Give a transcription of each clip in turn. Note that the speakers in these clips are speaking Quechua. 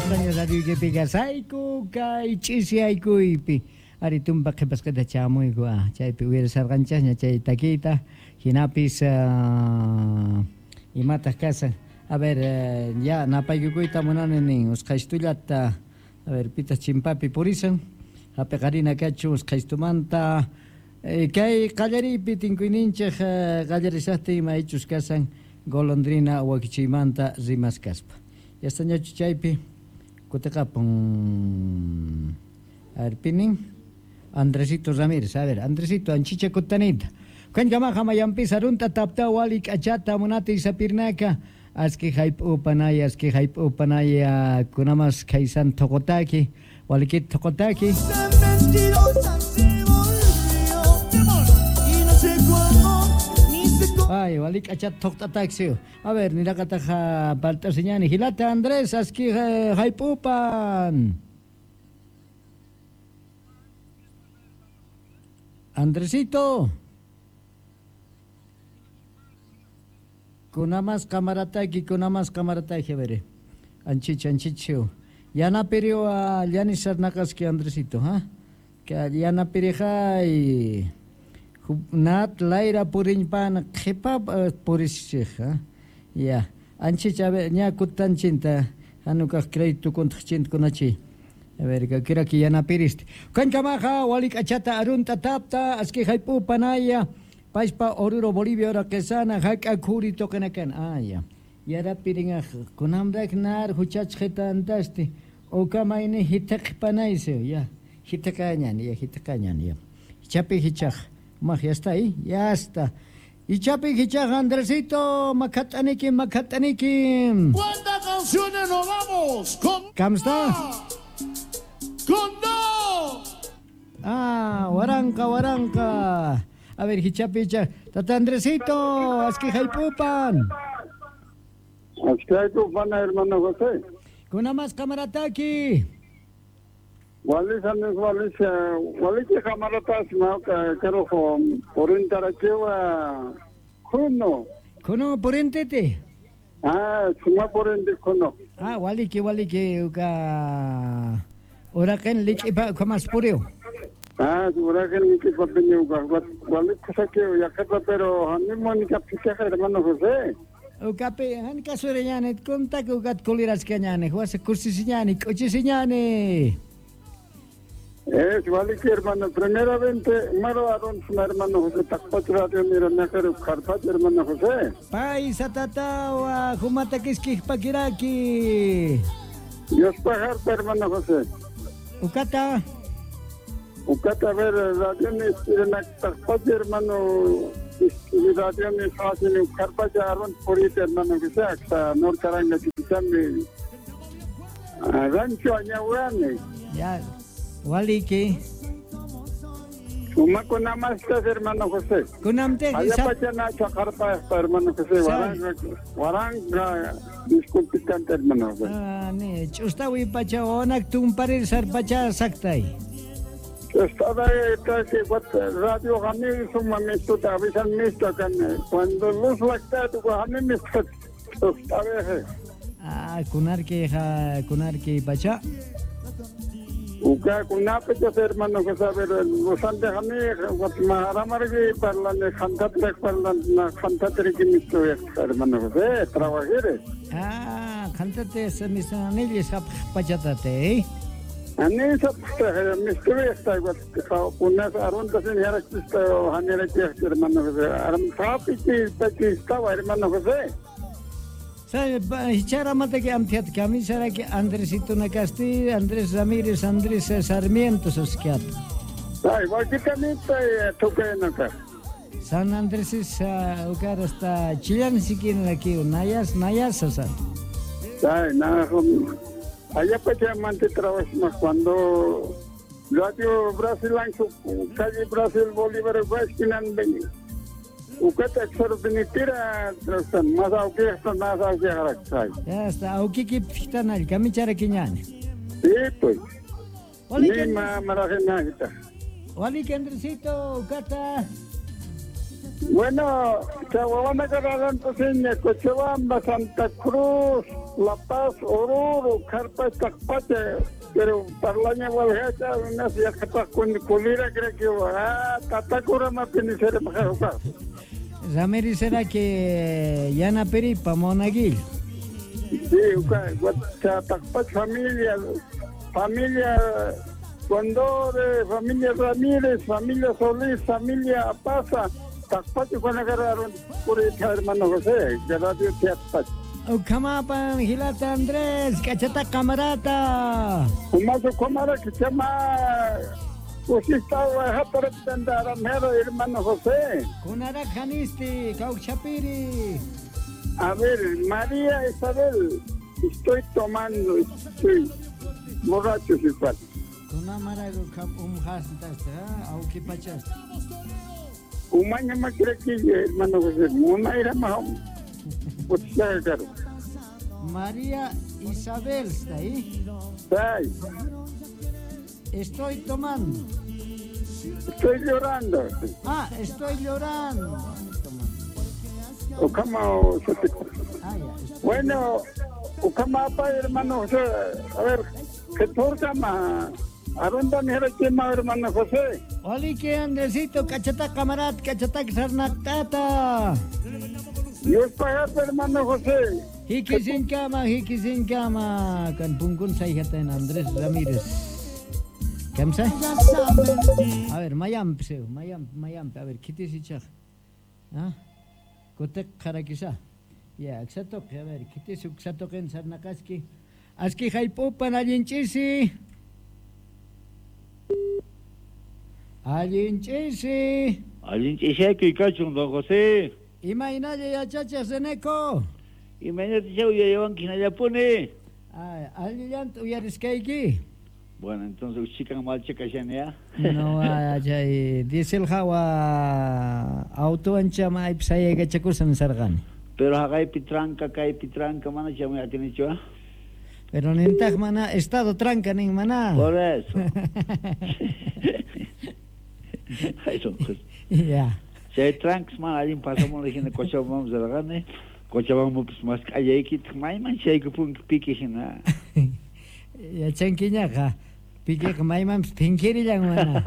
Kusisqaña radioykipi kasayku kay ch'isiyaykuypi. Ari tumpa qhipasqita chamuyku chaypi uyarisarqanchasña chay takiyta hinapis imataq kasan. A ver, ya napaykukuyta munani nin usqhaystullata. A ver, pitaq chimpapi purisan. Hapiqarina kachu usqhaystumanta. Kay qallariypi tinkuyninchik qallarishaqtin imaychus kasan golondrina wakichiymanta rimaskaspa. Yastañachu chaypi kutiqapun. A ver, pinin Andresito Ramírez. A ver, Andresito, anchicha kutanita. Kankamaqa mayanpi sarunta tapta wali k'achata munati sapirnaka. Aski hayp'upanaya, aski hayp'upanaya, kunamas kaysan thuqutaki, walikit thuqutaki. Ay, walik k'achata thuqt'ataksi. A ver, niraqataq palt'asiñani. Hilata Andrés, aski hayp'upan. Andresito. Kunamas kamarataki, kunamas kamarataki, a ver. Anchicha, anchicho. Yanapirio a Yanis Sarnakaski, Andresito, ¿ha? Que yanapirijay. Nat laira purinpan qhipa purishchik, ¿ha? Ya. Anchicha, a ver, ña kutanchinta. Hanukaq crédito kuntaqchinta kunachi. A ver, que quiera que yanapiriste. Kankamaja, walik achata arunta tapta, aski haypu panaya. Paispa Oruro Bolivia ora quesana haka kuri tokenakan. Ah, ya. Yara piringa kunamrak nar huchachjeta antasti. Okamaini hitak panaise, ya. Hitakañan, ya, hitakañan, ya. Chapi hichaj. Maj, ya está ahí, ya está. Y chapi hichaj, Andresito, macataniki, macataniki. ¿Cuántas canciones nos vamos? Con ¿Cómo está? Con dos. Ah, waranka, waranka. A ver, hichapicha. Tata Andresito, aski haypupan. Aski haypupan, hermano José. Kunamas kamarataki. Walisa, walisa, waliki kamaratas, mauka, karojo, porintarachewa, kuno. Kuno, porintete. Ah, suma porinte kuno. Ah, waliki, waliki, uka. Uraken lichipa, kamas pureo. Ah, uraken lichipa piñuka, waliki saqueo, yakata, pero animo ni capichaja, hermano José. Ukapi, han kasureñane, contaco ukat kulirascañane, huasa kursisiñane, cochisiñane. Es waliki, hermano, primeramente, maro aron, hermano José, takpach radio, mira, mejor, carpach, hermano José. Paisa tatawa, jumatakiskij pakiraki. Dios pajarta, hermano José. Ukata. Ukata, a ver, radio, takpach, hermano, radio, ni fácil, carpach, aron, purita, hermano José, hasta Norcaranga, Chiquichami, Rancho Añahuane. Ya. Waliki. Uma kunamastas, hermano José. Kunamte. Allá pachana chacarpa, hermano José. Waranga, waranga, disculpicante, hermano José. Ah, ne, chustawi pacha onak tumparir sarpacha saktay. Estaba que radio gani suma misto avisan misto kan cuando luz lacta tu gani misto chustawe. Ah, kunarki ja, kunarki pacha. Uka kunape hermano que sabe los antes a mí maharamargi parlan khantatrek parlan khantatrek misto hermano José trabajere. Ah, khantate se misanilli sap pachatate. Ani sap misto está kunas arunta sin yarakista hanera hermano José aram sapi ki estaba hermano José. Hichara mata que amtiat camisara que Andresito Nacasti, Andrés Ramírez, Andrés Sarmiento sosquiat. Ay, básicamente toca. San Andrés es ucar hasta Chillán siquiera aquí, Nayas, Nayas, o sea. Ay, nada, allá pues trabajo cuando Radio Brasil, calle Brasil, Bolívar, Guasquinan, Ukata xorpinitira más auque más auque haraksay. Ya está, auque ki ptanal kamichara kiñani. Sí, pues. Ni ma marajena. Wali Andresito, ukata. Bueno, Chahuahua Cochabamba, Santa Cruz, La Paz, Oruro, Carpa, Tacpacha, pero parlaña walhacha, unas yaqapaq kulira creo que tatacura mapinisere majajuka. Ramírez será que yana peripa monaguillo. Sí, familia, familia Condore, familia Ramírez, familia Solís, familia Apaza, Tacpacha cuando agarraron por el hermano José, de Radio Teatpacha. Ukamapan, Gilata Andrés, Cachata Camarata. Umazo Comara que se llama hermano José. Kunarak Janisti, Cauchapiri. A ver, María Isabel, estoy tomando, estoy borracho igual. Kunamarago auquipachasta. Umaña maquiraquilla, hermano José, una era más. María Isabel está ahí. Sí. Estoy tomando. Estoy llorando. Ah, estoy llorando. Ukama, bueno, Ukama, hermano José. A ver, ¿qué torta más? ¿A dónde me hermano José? Oli, que Andresito, cachata camarat, cachata sarnatata. Dios pagate, hermano José. Hikisin kama, kan punkun sayhatan Andrés Ramírez. ¿Kamsa? A ver, mayamp, mayamp, a ver, kitisichaj. ¿Ah? Kotek karakisa. Ya, xatok, a ver, kitisuk xatoken sarnakaski. Aski jaipupan allinchisi. Allinchisi. Allinchisi, kachun, don José. Imaynalla yachacha Seneco. Imaynata uyayawanki hinallapuni. Ay, allillanta uyariskayki. Bueno, entonces chikan malchakashani ya. No, chay diesel hawa auto ancha maypi sayaykachakusan sarqani. Pero haqaypi tranca, kaypi tranca, mana chamuy atinichu. Pero nintaq mana estado tranca nin mana. Por eso. Ay, don José. Ya. Chay tranks mana allin pasamos hina Cochabamba sarqani. Cochabamba mas k'allaykitaq mayman chaykupunki piki hina. Yachankiñaqa pikiqa maymanpis phinkirillan mana.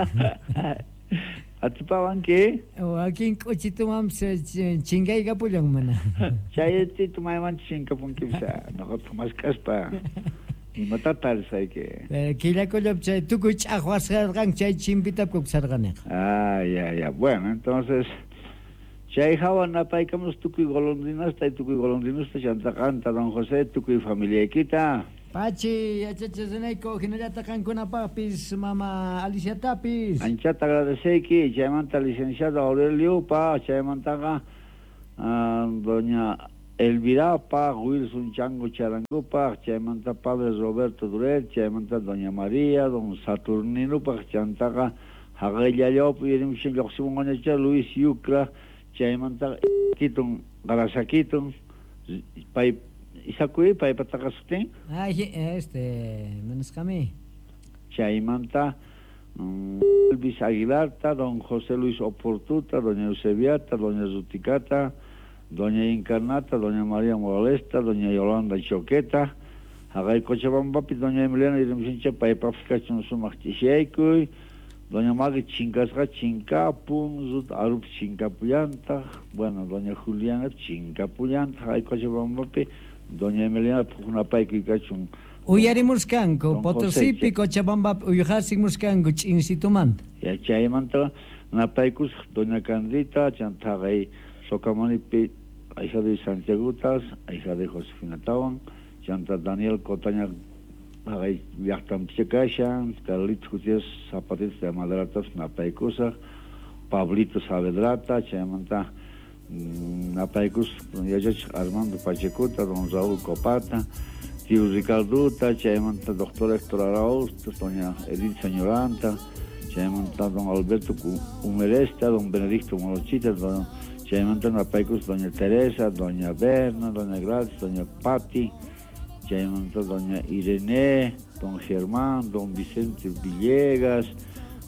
Atipawanki? Wakin k'uchitumanpis chinkaykapullan mana. Chaytito mayman chinkapunkipis noqataq mask'aspa imata tarisayki. Killakullapi chay tukuy ch'aqwasqarqanki chay chimpitapku sarqaniqa. Ah, ya, ya. Bueno, entonces chay hawa napaykamus tukuy golondrinasta y tukuy golondrinusta chantaqanta don José tukuy familiaykita. Pachi, yachachisunayku hinallataq qankunapaqpis mama Aliciatapis. Anchata agradeceyki, chaymanta licenciado Aurelio pa, chaymantaqa doña Elvirapa, Wilson Chango Charangupa, chaymanta padre Roberto Duret, chaymanta doña María, don Saturnino pa, chantaqa haqayllallapi yurimushan lluqsimunqañacha Luis Yucra, chaymanta kitun Garasakitun, pay Isakuy paypataqa sutin. Ay, manisqami. Chaymanta Elvis Aguilarta, don José Luis Oportuta, doña Eusebiata, doña Zuticata, doña Encarnata, doña María Moralesta, doña Yolanda Choqueta, haqay Cochabambapi, doña Emiliana Irimsincha, paypapis kachun sumaq ch'ishaykuy, doña Magui chinkasqa chinkapun, Rut Arup chinkapullantaq, bueno, doña Juliana chinkapullantaq, haqay Cochabambapi, doña Emiliana puqunapaykuy kachun. Uyarimuskanku, Potosipi, Cochabambapi, uyhasimuskanku ch'insitumanta. Ya chaymanta napaykusaq doña Candita, chantaqay Socamanipi, hija de Santiagutas, hija de Josefina Tawan, chanta Daniel Cotaña, haqay llaqtanpicha kashan, Carlitos Gutiérrez Zapatitos de Madratas napaykusaq, Pablito Saavedrata, chaymanta napaykus yachachiq Armando Pachecuta, don Raúl Copata, tío Ricardota, chaymanta doctor Héctor Arauz, doña Edith Señoranta, chaymanta don Alberto Humeresta, don Benedicto Morochita, don chaymanta napaykus doña Teresa, doña Berna, doña Gladys, doña Patti, chaymanta doña Irene, don Germán, don Vicente Villegas,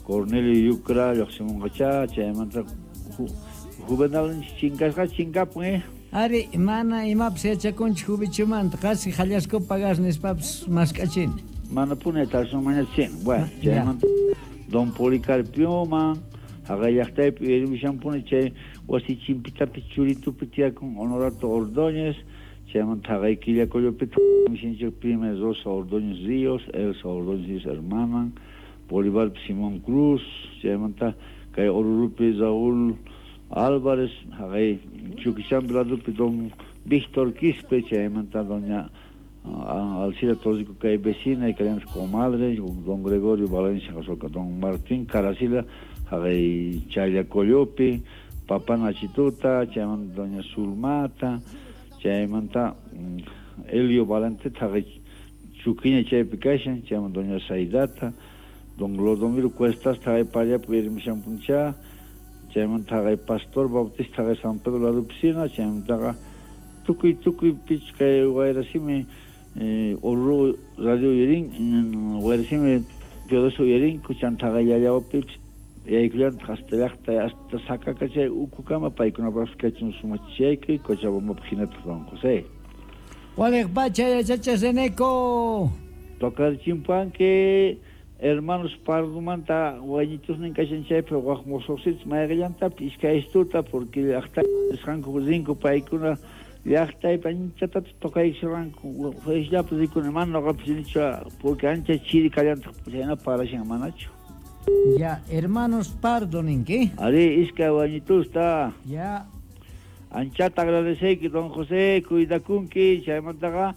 Cornelio Yucra, lluqsimunqacha, chaymanta Juvenal chinkasqa chinkapun, Ari, mana imapas yachakunchik hubichumanta, qasi hallasku pagas nispapas mask'achini. Mana puni tarsunmañachin. Bueno, chaymanta Don Policarpioman, haqay llaqtaypi uyarimushanpuni chay wasi chimpitapi churitupi tiyakun Honorato Ordóñez, chaymanta haqay Quillacollopi mishinchik prima Rosa Ordóñez Ríos, Elsa Ordóñez Ríos hermanan, Bolívar Simón Cruz, chaymanta kay Orurupi Raúl Álvarez, haqay Chuquichampi ladupi Don Víctor Quispe, chaymanta doña Alcira Torrico kay vecina y kay comadre, don Gregorio Valencia Don Martín Caracila, haqay Chayacoyopi, Papá Nachituta, chaymanta doña Zulmata, chaymanta Elio Valente, haqay Chuquiña chaypi kashan, chaymanta doña Saidata, don Clodomiro Cuestas, haqay Pallapi uyarimushanpuncha, chaymanta haqay Pastor Bautista, haqay San Pedro la Piscina, chaymantaqa tukuy tukuy pich kay wayrasimi Oruro radio uyarin, wayrasimi Teodosio uyarinku, chanta haqay Yallawapipis yaykullantaq hasta llaqta hasta Sakaka chay ukukama paykunapaqpas kachun sumachaykuy Cochabambapaq hinataq don José. Waliq pacha yachachiq Reneco. Tocarchimpanki hermanos Pardomanta wañitusnin kashan chaypi waq mosoqsitas mayqillantapis iskay istuta porque llaqta nisqanku rinku paykuna llaqtaypi anchatata tocaykushanku Feliz rikuni mana noqapis rinichu porque ancha chiri kallantaq chayna parashan manachu. Ya, hermanos Pardo ninki. Ari, iskay wañitusta. Ya. Anchata agradeceyki don José, cuidakunki, chaymantaqa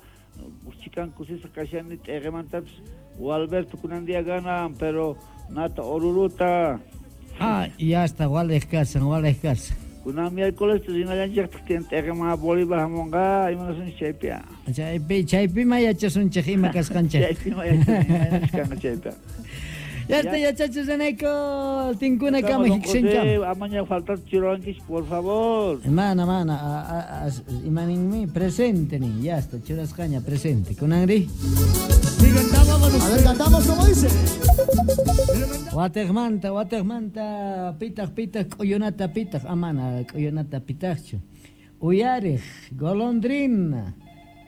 chikan kusisqa kashani t'eqemantapis Walberto kunan día ganan, pero nata Oruruta. Ah, ya está, waliq kasan, waliq kasan. Kunan miércoles rinallanchikta tiyan t'eqeman Bolívar hamunqa, imanasunchik chaypi. Chaypi, chaypi ma yachasunchik ima kasqanchik. Chaypi ma yachasunchik kanqa chaypi. Ya está, yachachiq Reneco, tinkuna kama hiksincham. Amaña faltar churankish, por favor. Mana, mana, imaninmi presente ni, ya está, churasqaña presente. Kunanri. A ver, cantamos como dice. Wateqmanta, wateqmanta, pitaq, pitaq, k'uyunata pitaq, amana, k'uyunata pitaqchu. Uyariq, golondrina.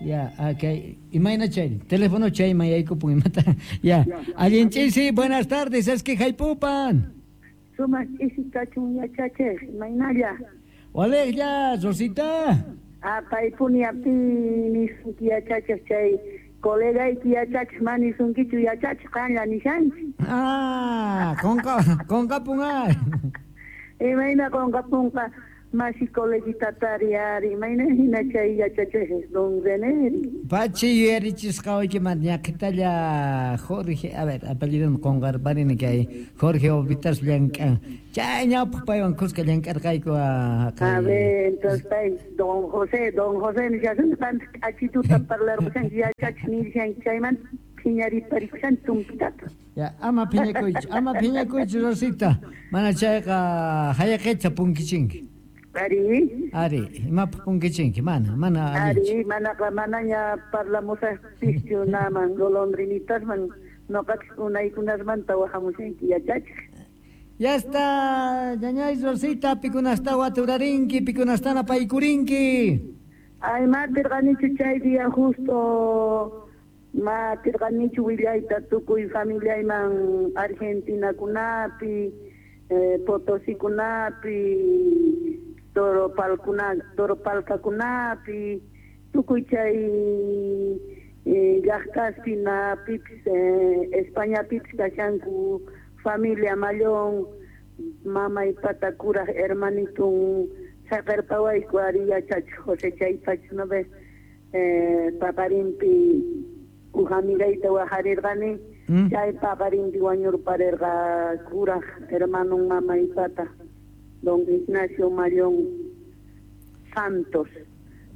Ya, okay. Imayna chay, teléfono chayman yaykupun imata. Ya, allin ch'isi, buenas tardes, es que haypupan. Sumaq ch'isi kachun yachachiq, imaynalla. Waliqlla, Rosita. Ah, paypuni api nisunki yachachiq chay colegayki yachachiq mana nisunkichu yachachiq qanlla nishanchik. Ah, qunqapun ay. Imayna qunqapunqa. Masi coleguita tariari, imayna hina chay yachachiq don René. Pachi yuyarichisqa waykimanta ñaqhitalla Jorge, a ver, apellidon qunqarparini kay Jorge Ovitas llank'an. Chay ñawpaq paywan kuska llank'arqayku. A ver, entonces pay don José nishasun qanta k'achituta parlarqushanki yachachiq nishanki chaymanta phiñariparikushanki tumpitata. Ya, ama phiñakuychu Rosita, mana chayqa hayaqicha punkichinki. Ari. Ari, imapaq punkichinki, mana, mana allinchu. Ari, manaqa manaña parlamusaqpischu naman golondrinitasman noqapis unaykunasmanta wahamushanki yachachiq. Ya está, ñañay Rosita, pikunasta waturarinki, pikunastana paykurinki. Ay, matirqanichu chay día justo, matirqanichu willayta tukuy familiayman Argentinakunapi, Potosikunapi, Toropalcakunapi, tukuy chay llaqtaspi napipis, Españapipis kashanku familia Mallón, mamay pata kuraq hermanitun saqerpawayku ari yachachiq José chaypacha no ves paqarinpi uj amigayta wajarirqani, chay paqarinpi wañurparirqa kuraq hermanun mamay pata don Ignacio Mallón Santos.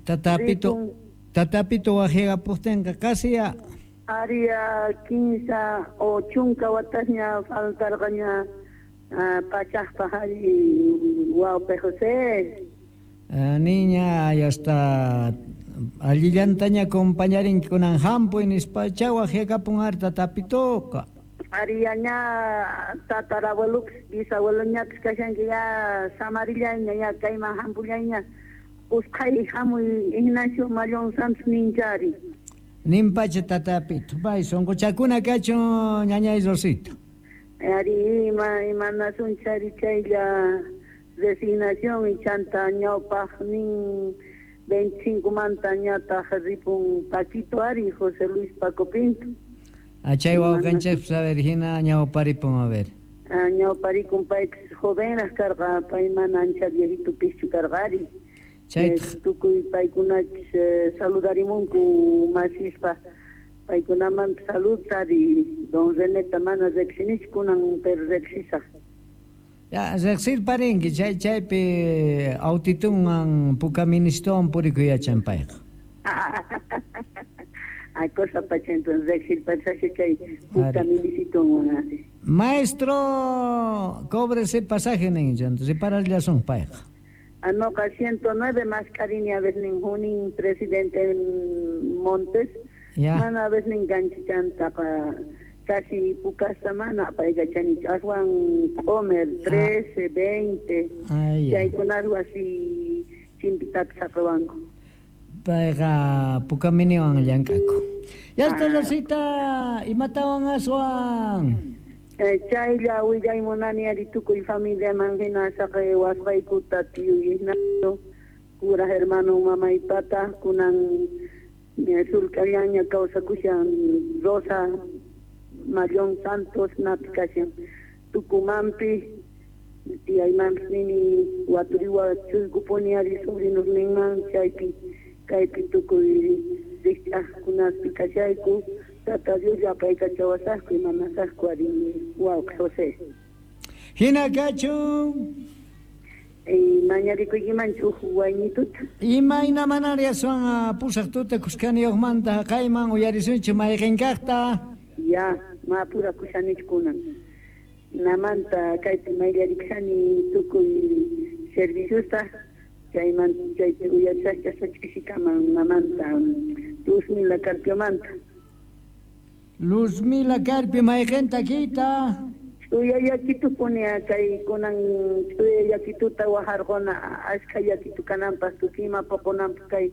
Tatapito wajirapuqtinqa casi ya. Aria 15 o chunka watasña faltarqaña pachaqpaq ari wawqi José. Niña, ya está allillantaña acompañarinki kunan hampuy nispacha wajyakapun ari tatapitoqa. Ariyaña tatarabuelupis bisabueloñapis kashanki ya samarillayña ya kayman hampullayña Usqhay hamuy Ignacio Mallón Santos ninchari. Nimpacha tatapito, pay sunquchakuna kachun ñañay Rosita. Ari imanasun chari chaylla resignación y chanta ñawpaq nin 25 manta ñataq ripun Paquito ari José Luis Paco Pinto. Achay wawqanchikpas a ver hina ñawparipun a ver. Ñawparikun paypis jovenraq karqa pay mana ancha viejito pischu karqa ari. Tukuy paykunachis saludarimunku masispa paykunaman salud ari don Reneta mana riqsinichu kunan pero riqsisaq. Ya riqsirparinki chay chaypi autitunwan puka ministowan purikuyachan payqa. Ay cosa pacha entonces riqsirpasaq chay puka minisitunwan. Maestro, cóbrese pasaje nin entonces repararllasun payqa. Anoqa 109 más cariño a veces ningún presidente Montes. Ya. Mana a veces enganchanta casi puka semana payqa chani aswan comer 13, 20. Chaykunarwa así chimpitapis saqawanku. Payqa puka miniwan llank'aku. Ya está Rosita, imatawan aswan. Chaylla willay munani ari tukuy familiaman hina saqay wasqaykuta tío Ignacio cura hermano mamaypata kunan sulkallaña kawsakushan Rosa Mallón Santos napi kashan Tucumánpi tiyaymanpis nini waturiwa chuykupuni ari sobrinosninman chaypi kaypi tukuy rikch'aqkunaspi kashayku. Tata Dios apaykachawasaqku imanasaqku ari wawqi José. Hina kachun. Mañarikuykimanchu huk waynituta. Imayna manari aswan pusaq tuta kuskaniyuqmanta haqayman uyarisunchik mayqinkaqta. Ya, mapurakushanichu kunan. Namanta kaypi mayllarikushani tukuy serviciosta chayman chaypi uyarisaqcha ch'isikaman namanta Luzmila Carpiomanta. Luzmila Carpio mayqinta kita. Ch'uya yakitu punia kay kunan ch'uya yakituta wajarquna ashkha yakitu kananpaq tukuy ima puqunanpaq kay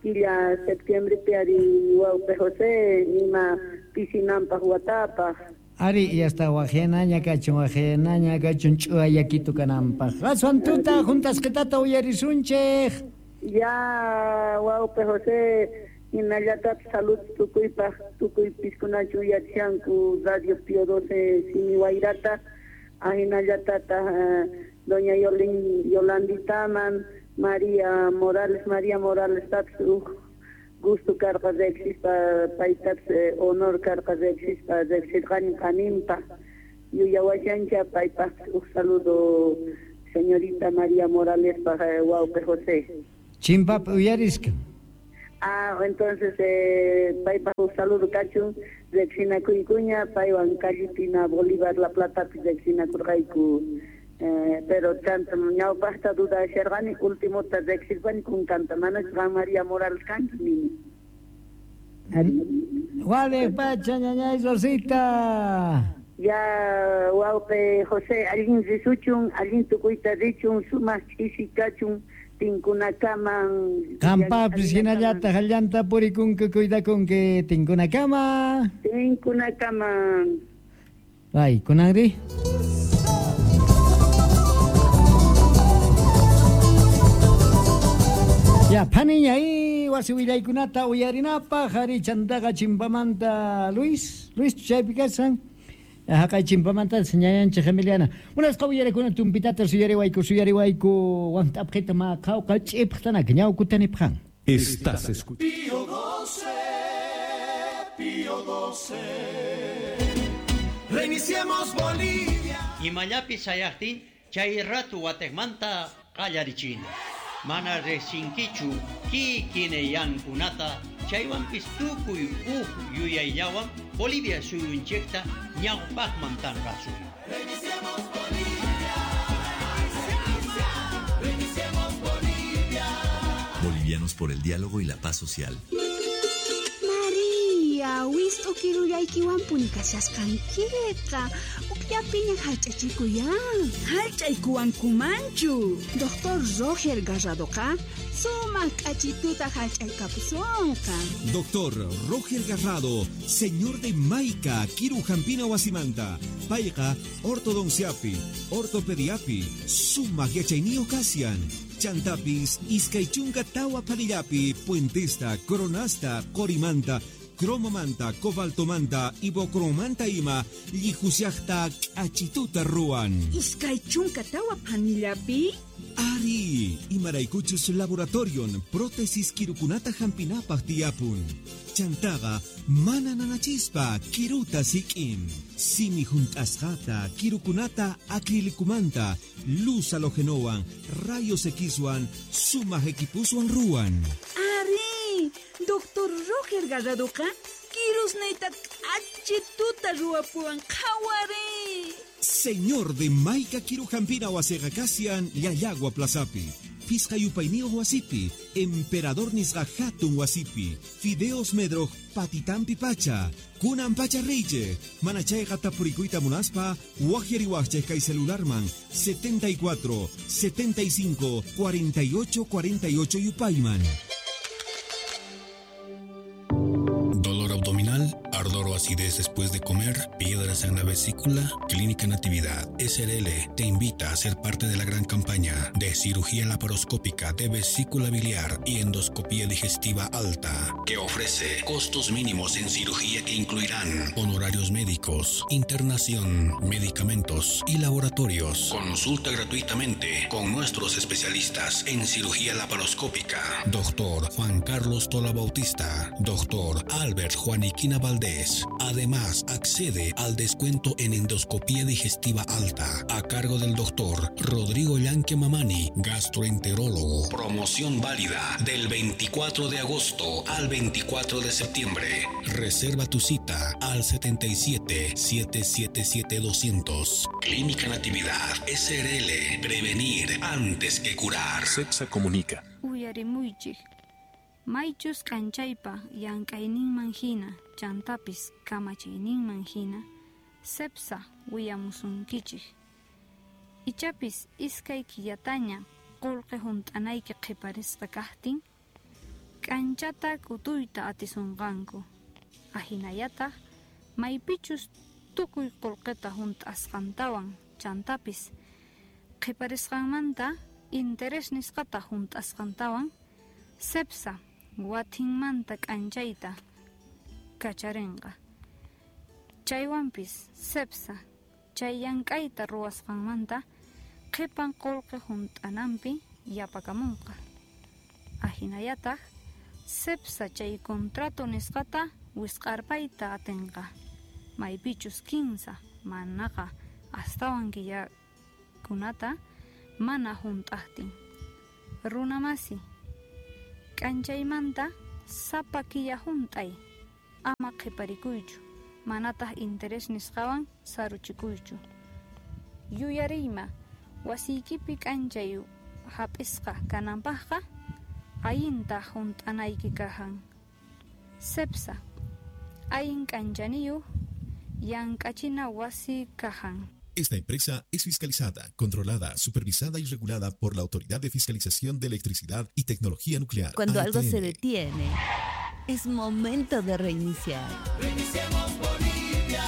killa septiembrepi ari wawqi José ima pisinanpaq watapaq. Ari yasta waqhinaña kachun ch'uya yakitu kananpaq. Aswan tuta juntasqitata uyarisunchik. Ya wawqi José hinallatapis salud tukuypaq tukuy piskunachu uyarishanku Radio Pío 12 Simi Wayrata ahinallatata doña Yolanditaman María Morales tapis uj gusto karqa riqsispa paytapis honor karqa riqsispa riqsirqani qaninpa yuyawashancha paypaqpis uj saludo señorita María Moralespaq wawqi José. Chimpap uyarisqa. Ah, entonces paypaq uj saludo kachun riqsinakuykuña paywan callipina Bolívar La Platapi riqsinakurqayku pero tanto ñawpaqta dudasharqani ultimota riqsirpani kunkanta manachu qam María Morales kanki nini. Wale pacha ñañay Rosita. Ya wawqi José allin risuchun allin tukuyta richun sumaq ch'isi kachun tinkunakaman. Qampapis hinallataq allanta purikunki cuidakunki tinkunakama. Tinkunakaman. Ay, kunanri. Ya, phaniña y wasi willaykunata uyarinapaq ari chantaqa chimpamanta Luis chaypi kashan. Haqay chimpamanta ñañanchik Emiliana. Munasqa uyarikuna tumpitata suyariwayku want'apqita maqhawqa ch'ipqtanaka ñawkutanipqan. Estás escuchando Pío 12, Pío 12. Reiniciemos Bolivia. Imallapi sayaqtin chay ratu wateqmanta qallarichina. Mana riqsinkichu kikineyankunata chaywanpis tukuy uj yuyayllawan Bolivia suyunchikta ñawpaqman tanqasun. Reiniciemos Bolivia. Reiniciemos Bolivia. Bolivianos por el diálogo y la paz social. María. Tia, wist'u kirullaykiwanpuni kashasqankiqa. Ukllapiña hallch'achikuyan. Hallch'aykuwankumanchu. Doctor Roger Garradoqa sumaq k'achituta hallch'aykapusunqa. Doctor Roger Garrado, señor de Maica, Kiru Jampina Wasimanta, Payqa, Ortodonciapi, Ortopediapi, Sumaq Yachayniyuq Kasian, Chantapis, Iskay chunka tawa Panillapi, Puentesta, Coronasta, Corimanta, Cromomanta, Cobaltomanta, Ibocromanta ima, Llijusiaqta, K'achituta ruwan. 24 phanillapi? Ari, imaraykuchus laboratorion, prótesis kirukunata hampinapaq tiyapun. Chantaqa, mana nanachispa, kiruta sik'in. Simi hunt'asqata, kirukunata acrilicumanta, luz halogenowan, rayos Xwan, sumaq equipuswan ruwan. Ari, Doctor Roger Garradoqa, kirusniyta k'achituta ruwapuwan qhawari. Señor de Maica Kirujampina wasiqa kasian Llallagua Plazapi. Pisqa yupayniyuq wasipi, Emperador nisqa hatun wasipi, Fideos Medroj patitampi pacha, Kunan pacha reyche, mana chayqa tapurikuyta munaspa, waqyariwaqchik kay celularman 74 75 48 48 yupayman. Dolor abdominal, ardor o acidez después de comer, piedras en la vesícula. Clínica Natividad SRL te invita a ser parte de la gran campaña de cirugía laparoscópica de vesícula biliar y endoscopía digestiva alta, que ofrece costos mínimos en cirugía que incluirán honorarios médicos, internación, medicamentos y laboratorios. Consulta gratuitamente con nuestros especialistas en cirugía laparoscópica. Doctor Juan Carlos Tola Bautista, Doctor Albert Juaniquina Valdés. Además, accede al descuento en endoscopía digestiva alta a cargo del doctor Rodrigo Llanque Mamani, gastroenterólogo. Promoción válida del 24 de agosto al 24 de septiembre. Reserva tu cita al 77 777 200. Clínica Natividad SRL. Prevenir antes que curar. Cepsa comunica. Uyarimuychik. Maychus k'anchaypa llank'ayninman hina, chantapis kamachiyninman hina, Cepsa willamusunkichik. Ichapis iskay killataña qullqi hunt'anayki qhiparisqa kaqtin, k'anchata k'utuyta atisunqanku. Ahinallataq maypichus tukuy qullqita hunt'asqantawan chantapis qhiparisqanmanta interés nisqata hunt'asqantawan Cepsa watinmanta k'anchayta kacharinqa. Chaywanpis Cepsa chay llank'ayta ruwasqanmanta qhipan qullqi hunt'ananpi yapakamunqa. Ahinallataq Cepsa chay contrato nisqata wisq'arpayta atinqa. Maypichus 15 manaqa astawan killakunata mana hunt'aqtin. Runamasi, k'anchaymanta sapa killa hunt'ay, ama qhiparikuychu, manataq interés nisqawan saruchikuychu. Yuyariyma, wasiykipi k'anchay hap'isqa kananpaqqa allinta hunt'anayki kahan. Cepsa, allin k'anchaniyuq llank'achina wasi kahan. Esta empresa es fiscalizada, controlada, supervisada y regulada por la Autoridad de Fiscalización de Electricidad y Tecnología Nuclear. Cuando algo ATN. se detiene, es momento de reiniciar. Reiniciemos Bolivia.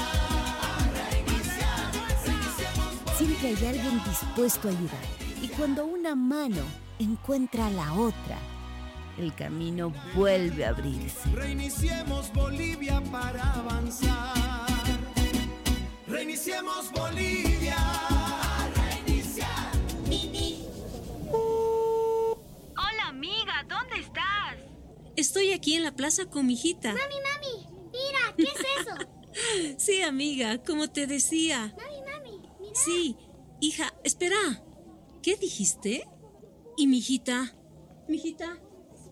Reiniciar. Reiniciemos. Siempre hay alguien dispuesto a ayudar. Y cuando una mano encuentra la otra, el camino vuelve a abrirse. Reiniciemos Bolivia para avanzar. Reiniciemos Bolivia. Reiniciar. Hola amiga, ¿dónde estás? Estoy aquí en la plaza con mi hijita. Mami, mami, mira, ¿qué es eso? Sí, amiga, como te decía. Mami, mami, mira. Sí, hija, espera. ¿Qué dijiste? ¿Y mi hijita? ¿Mi hijita?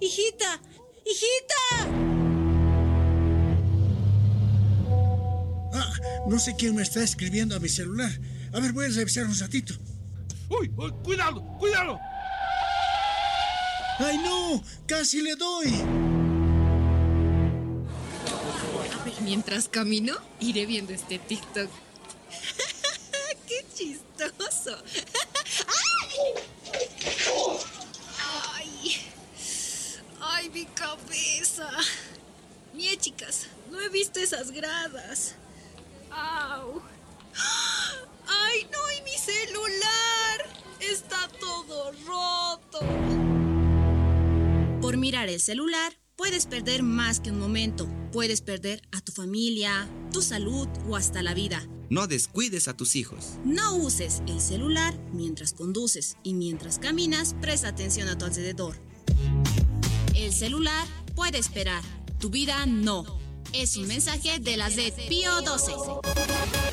¡Hijita! ¡Hijita! Ah, no sé quién me está escribiendo a mi celular. A ver, voy a revisar un ratito. ¡Uy! Uy, ¡Cuidado! ¡Cuidado! ¡Ay, no! ¡Casi le doy! Mientras camino, iré viendo este TikTok. ¡Qué chistoso! ¡Ay! ¡Ay, mi cabeza! Mie, chicas, no he visto esas gradas. ¡Au! ¡Ay, no! ¡Y mi celular! ¡Está todo roto! Por mirar el celular, puedes perder más que un momento. Puedes perder a tu familia, tu salud o hasta la vida. No descuides a tus hijos. No uses el celular mientras conduces y mientras caminas, presta atención a tu alrededor. El celular puede esperar, tu vida no. Es un mensaje de la Z Pío 12.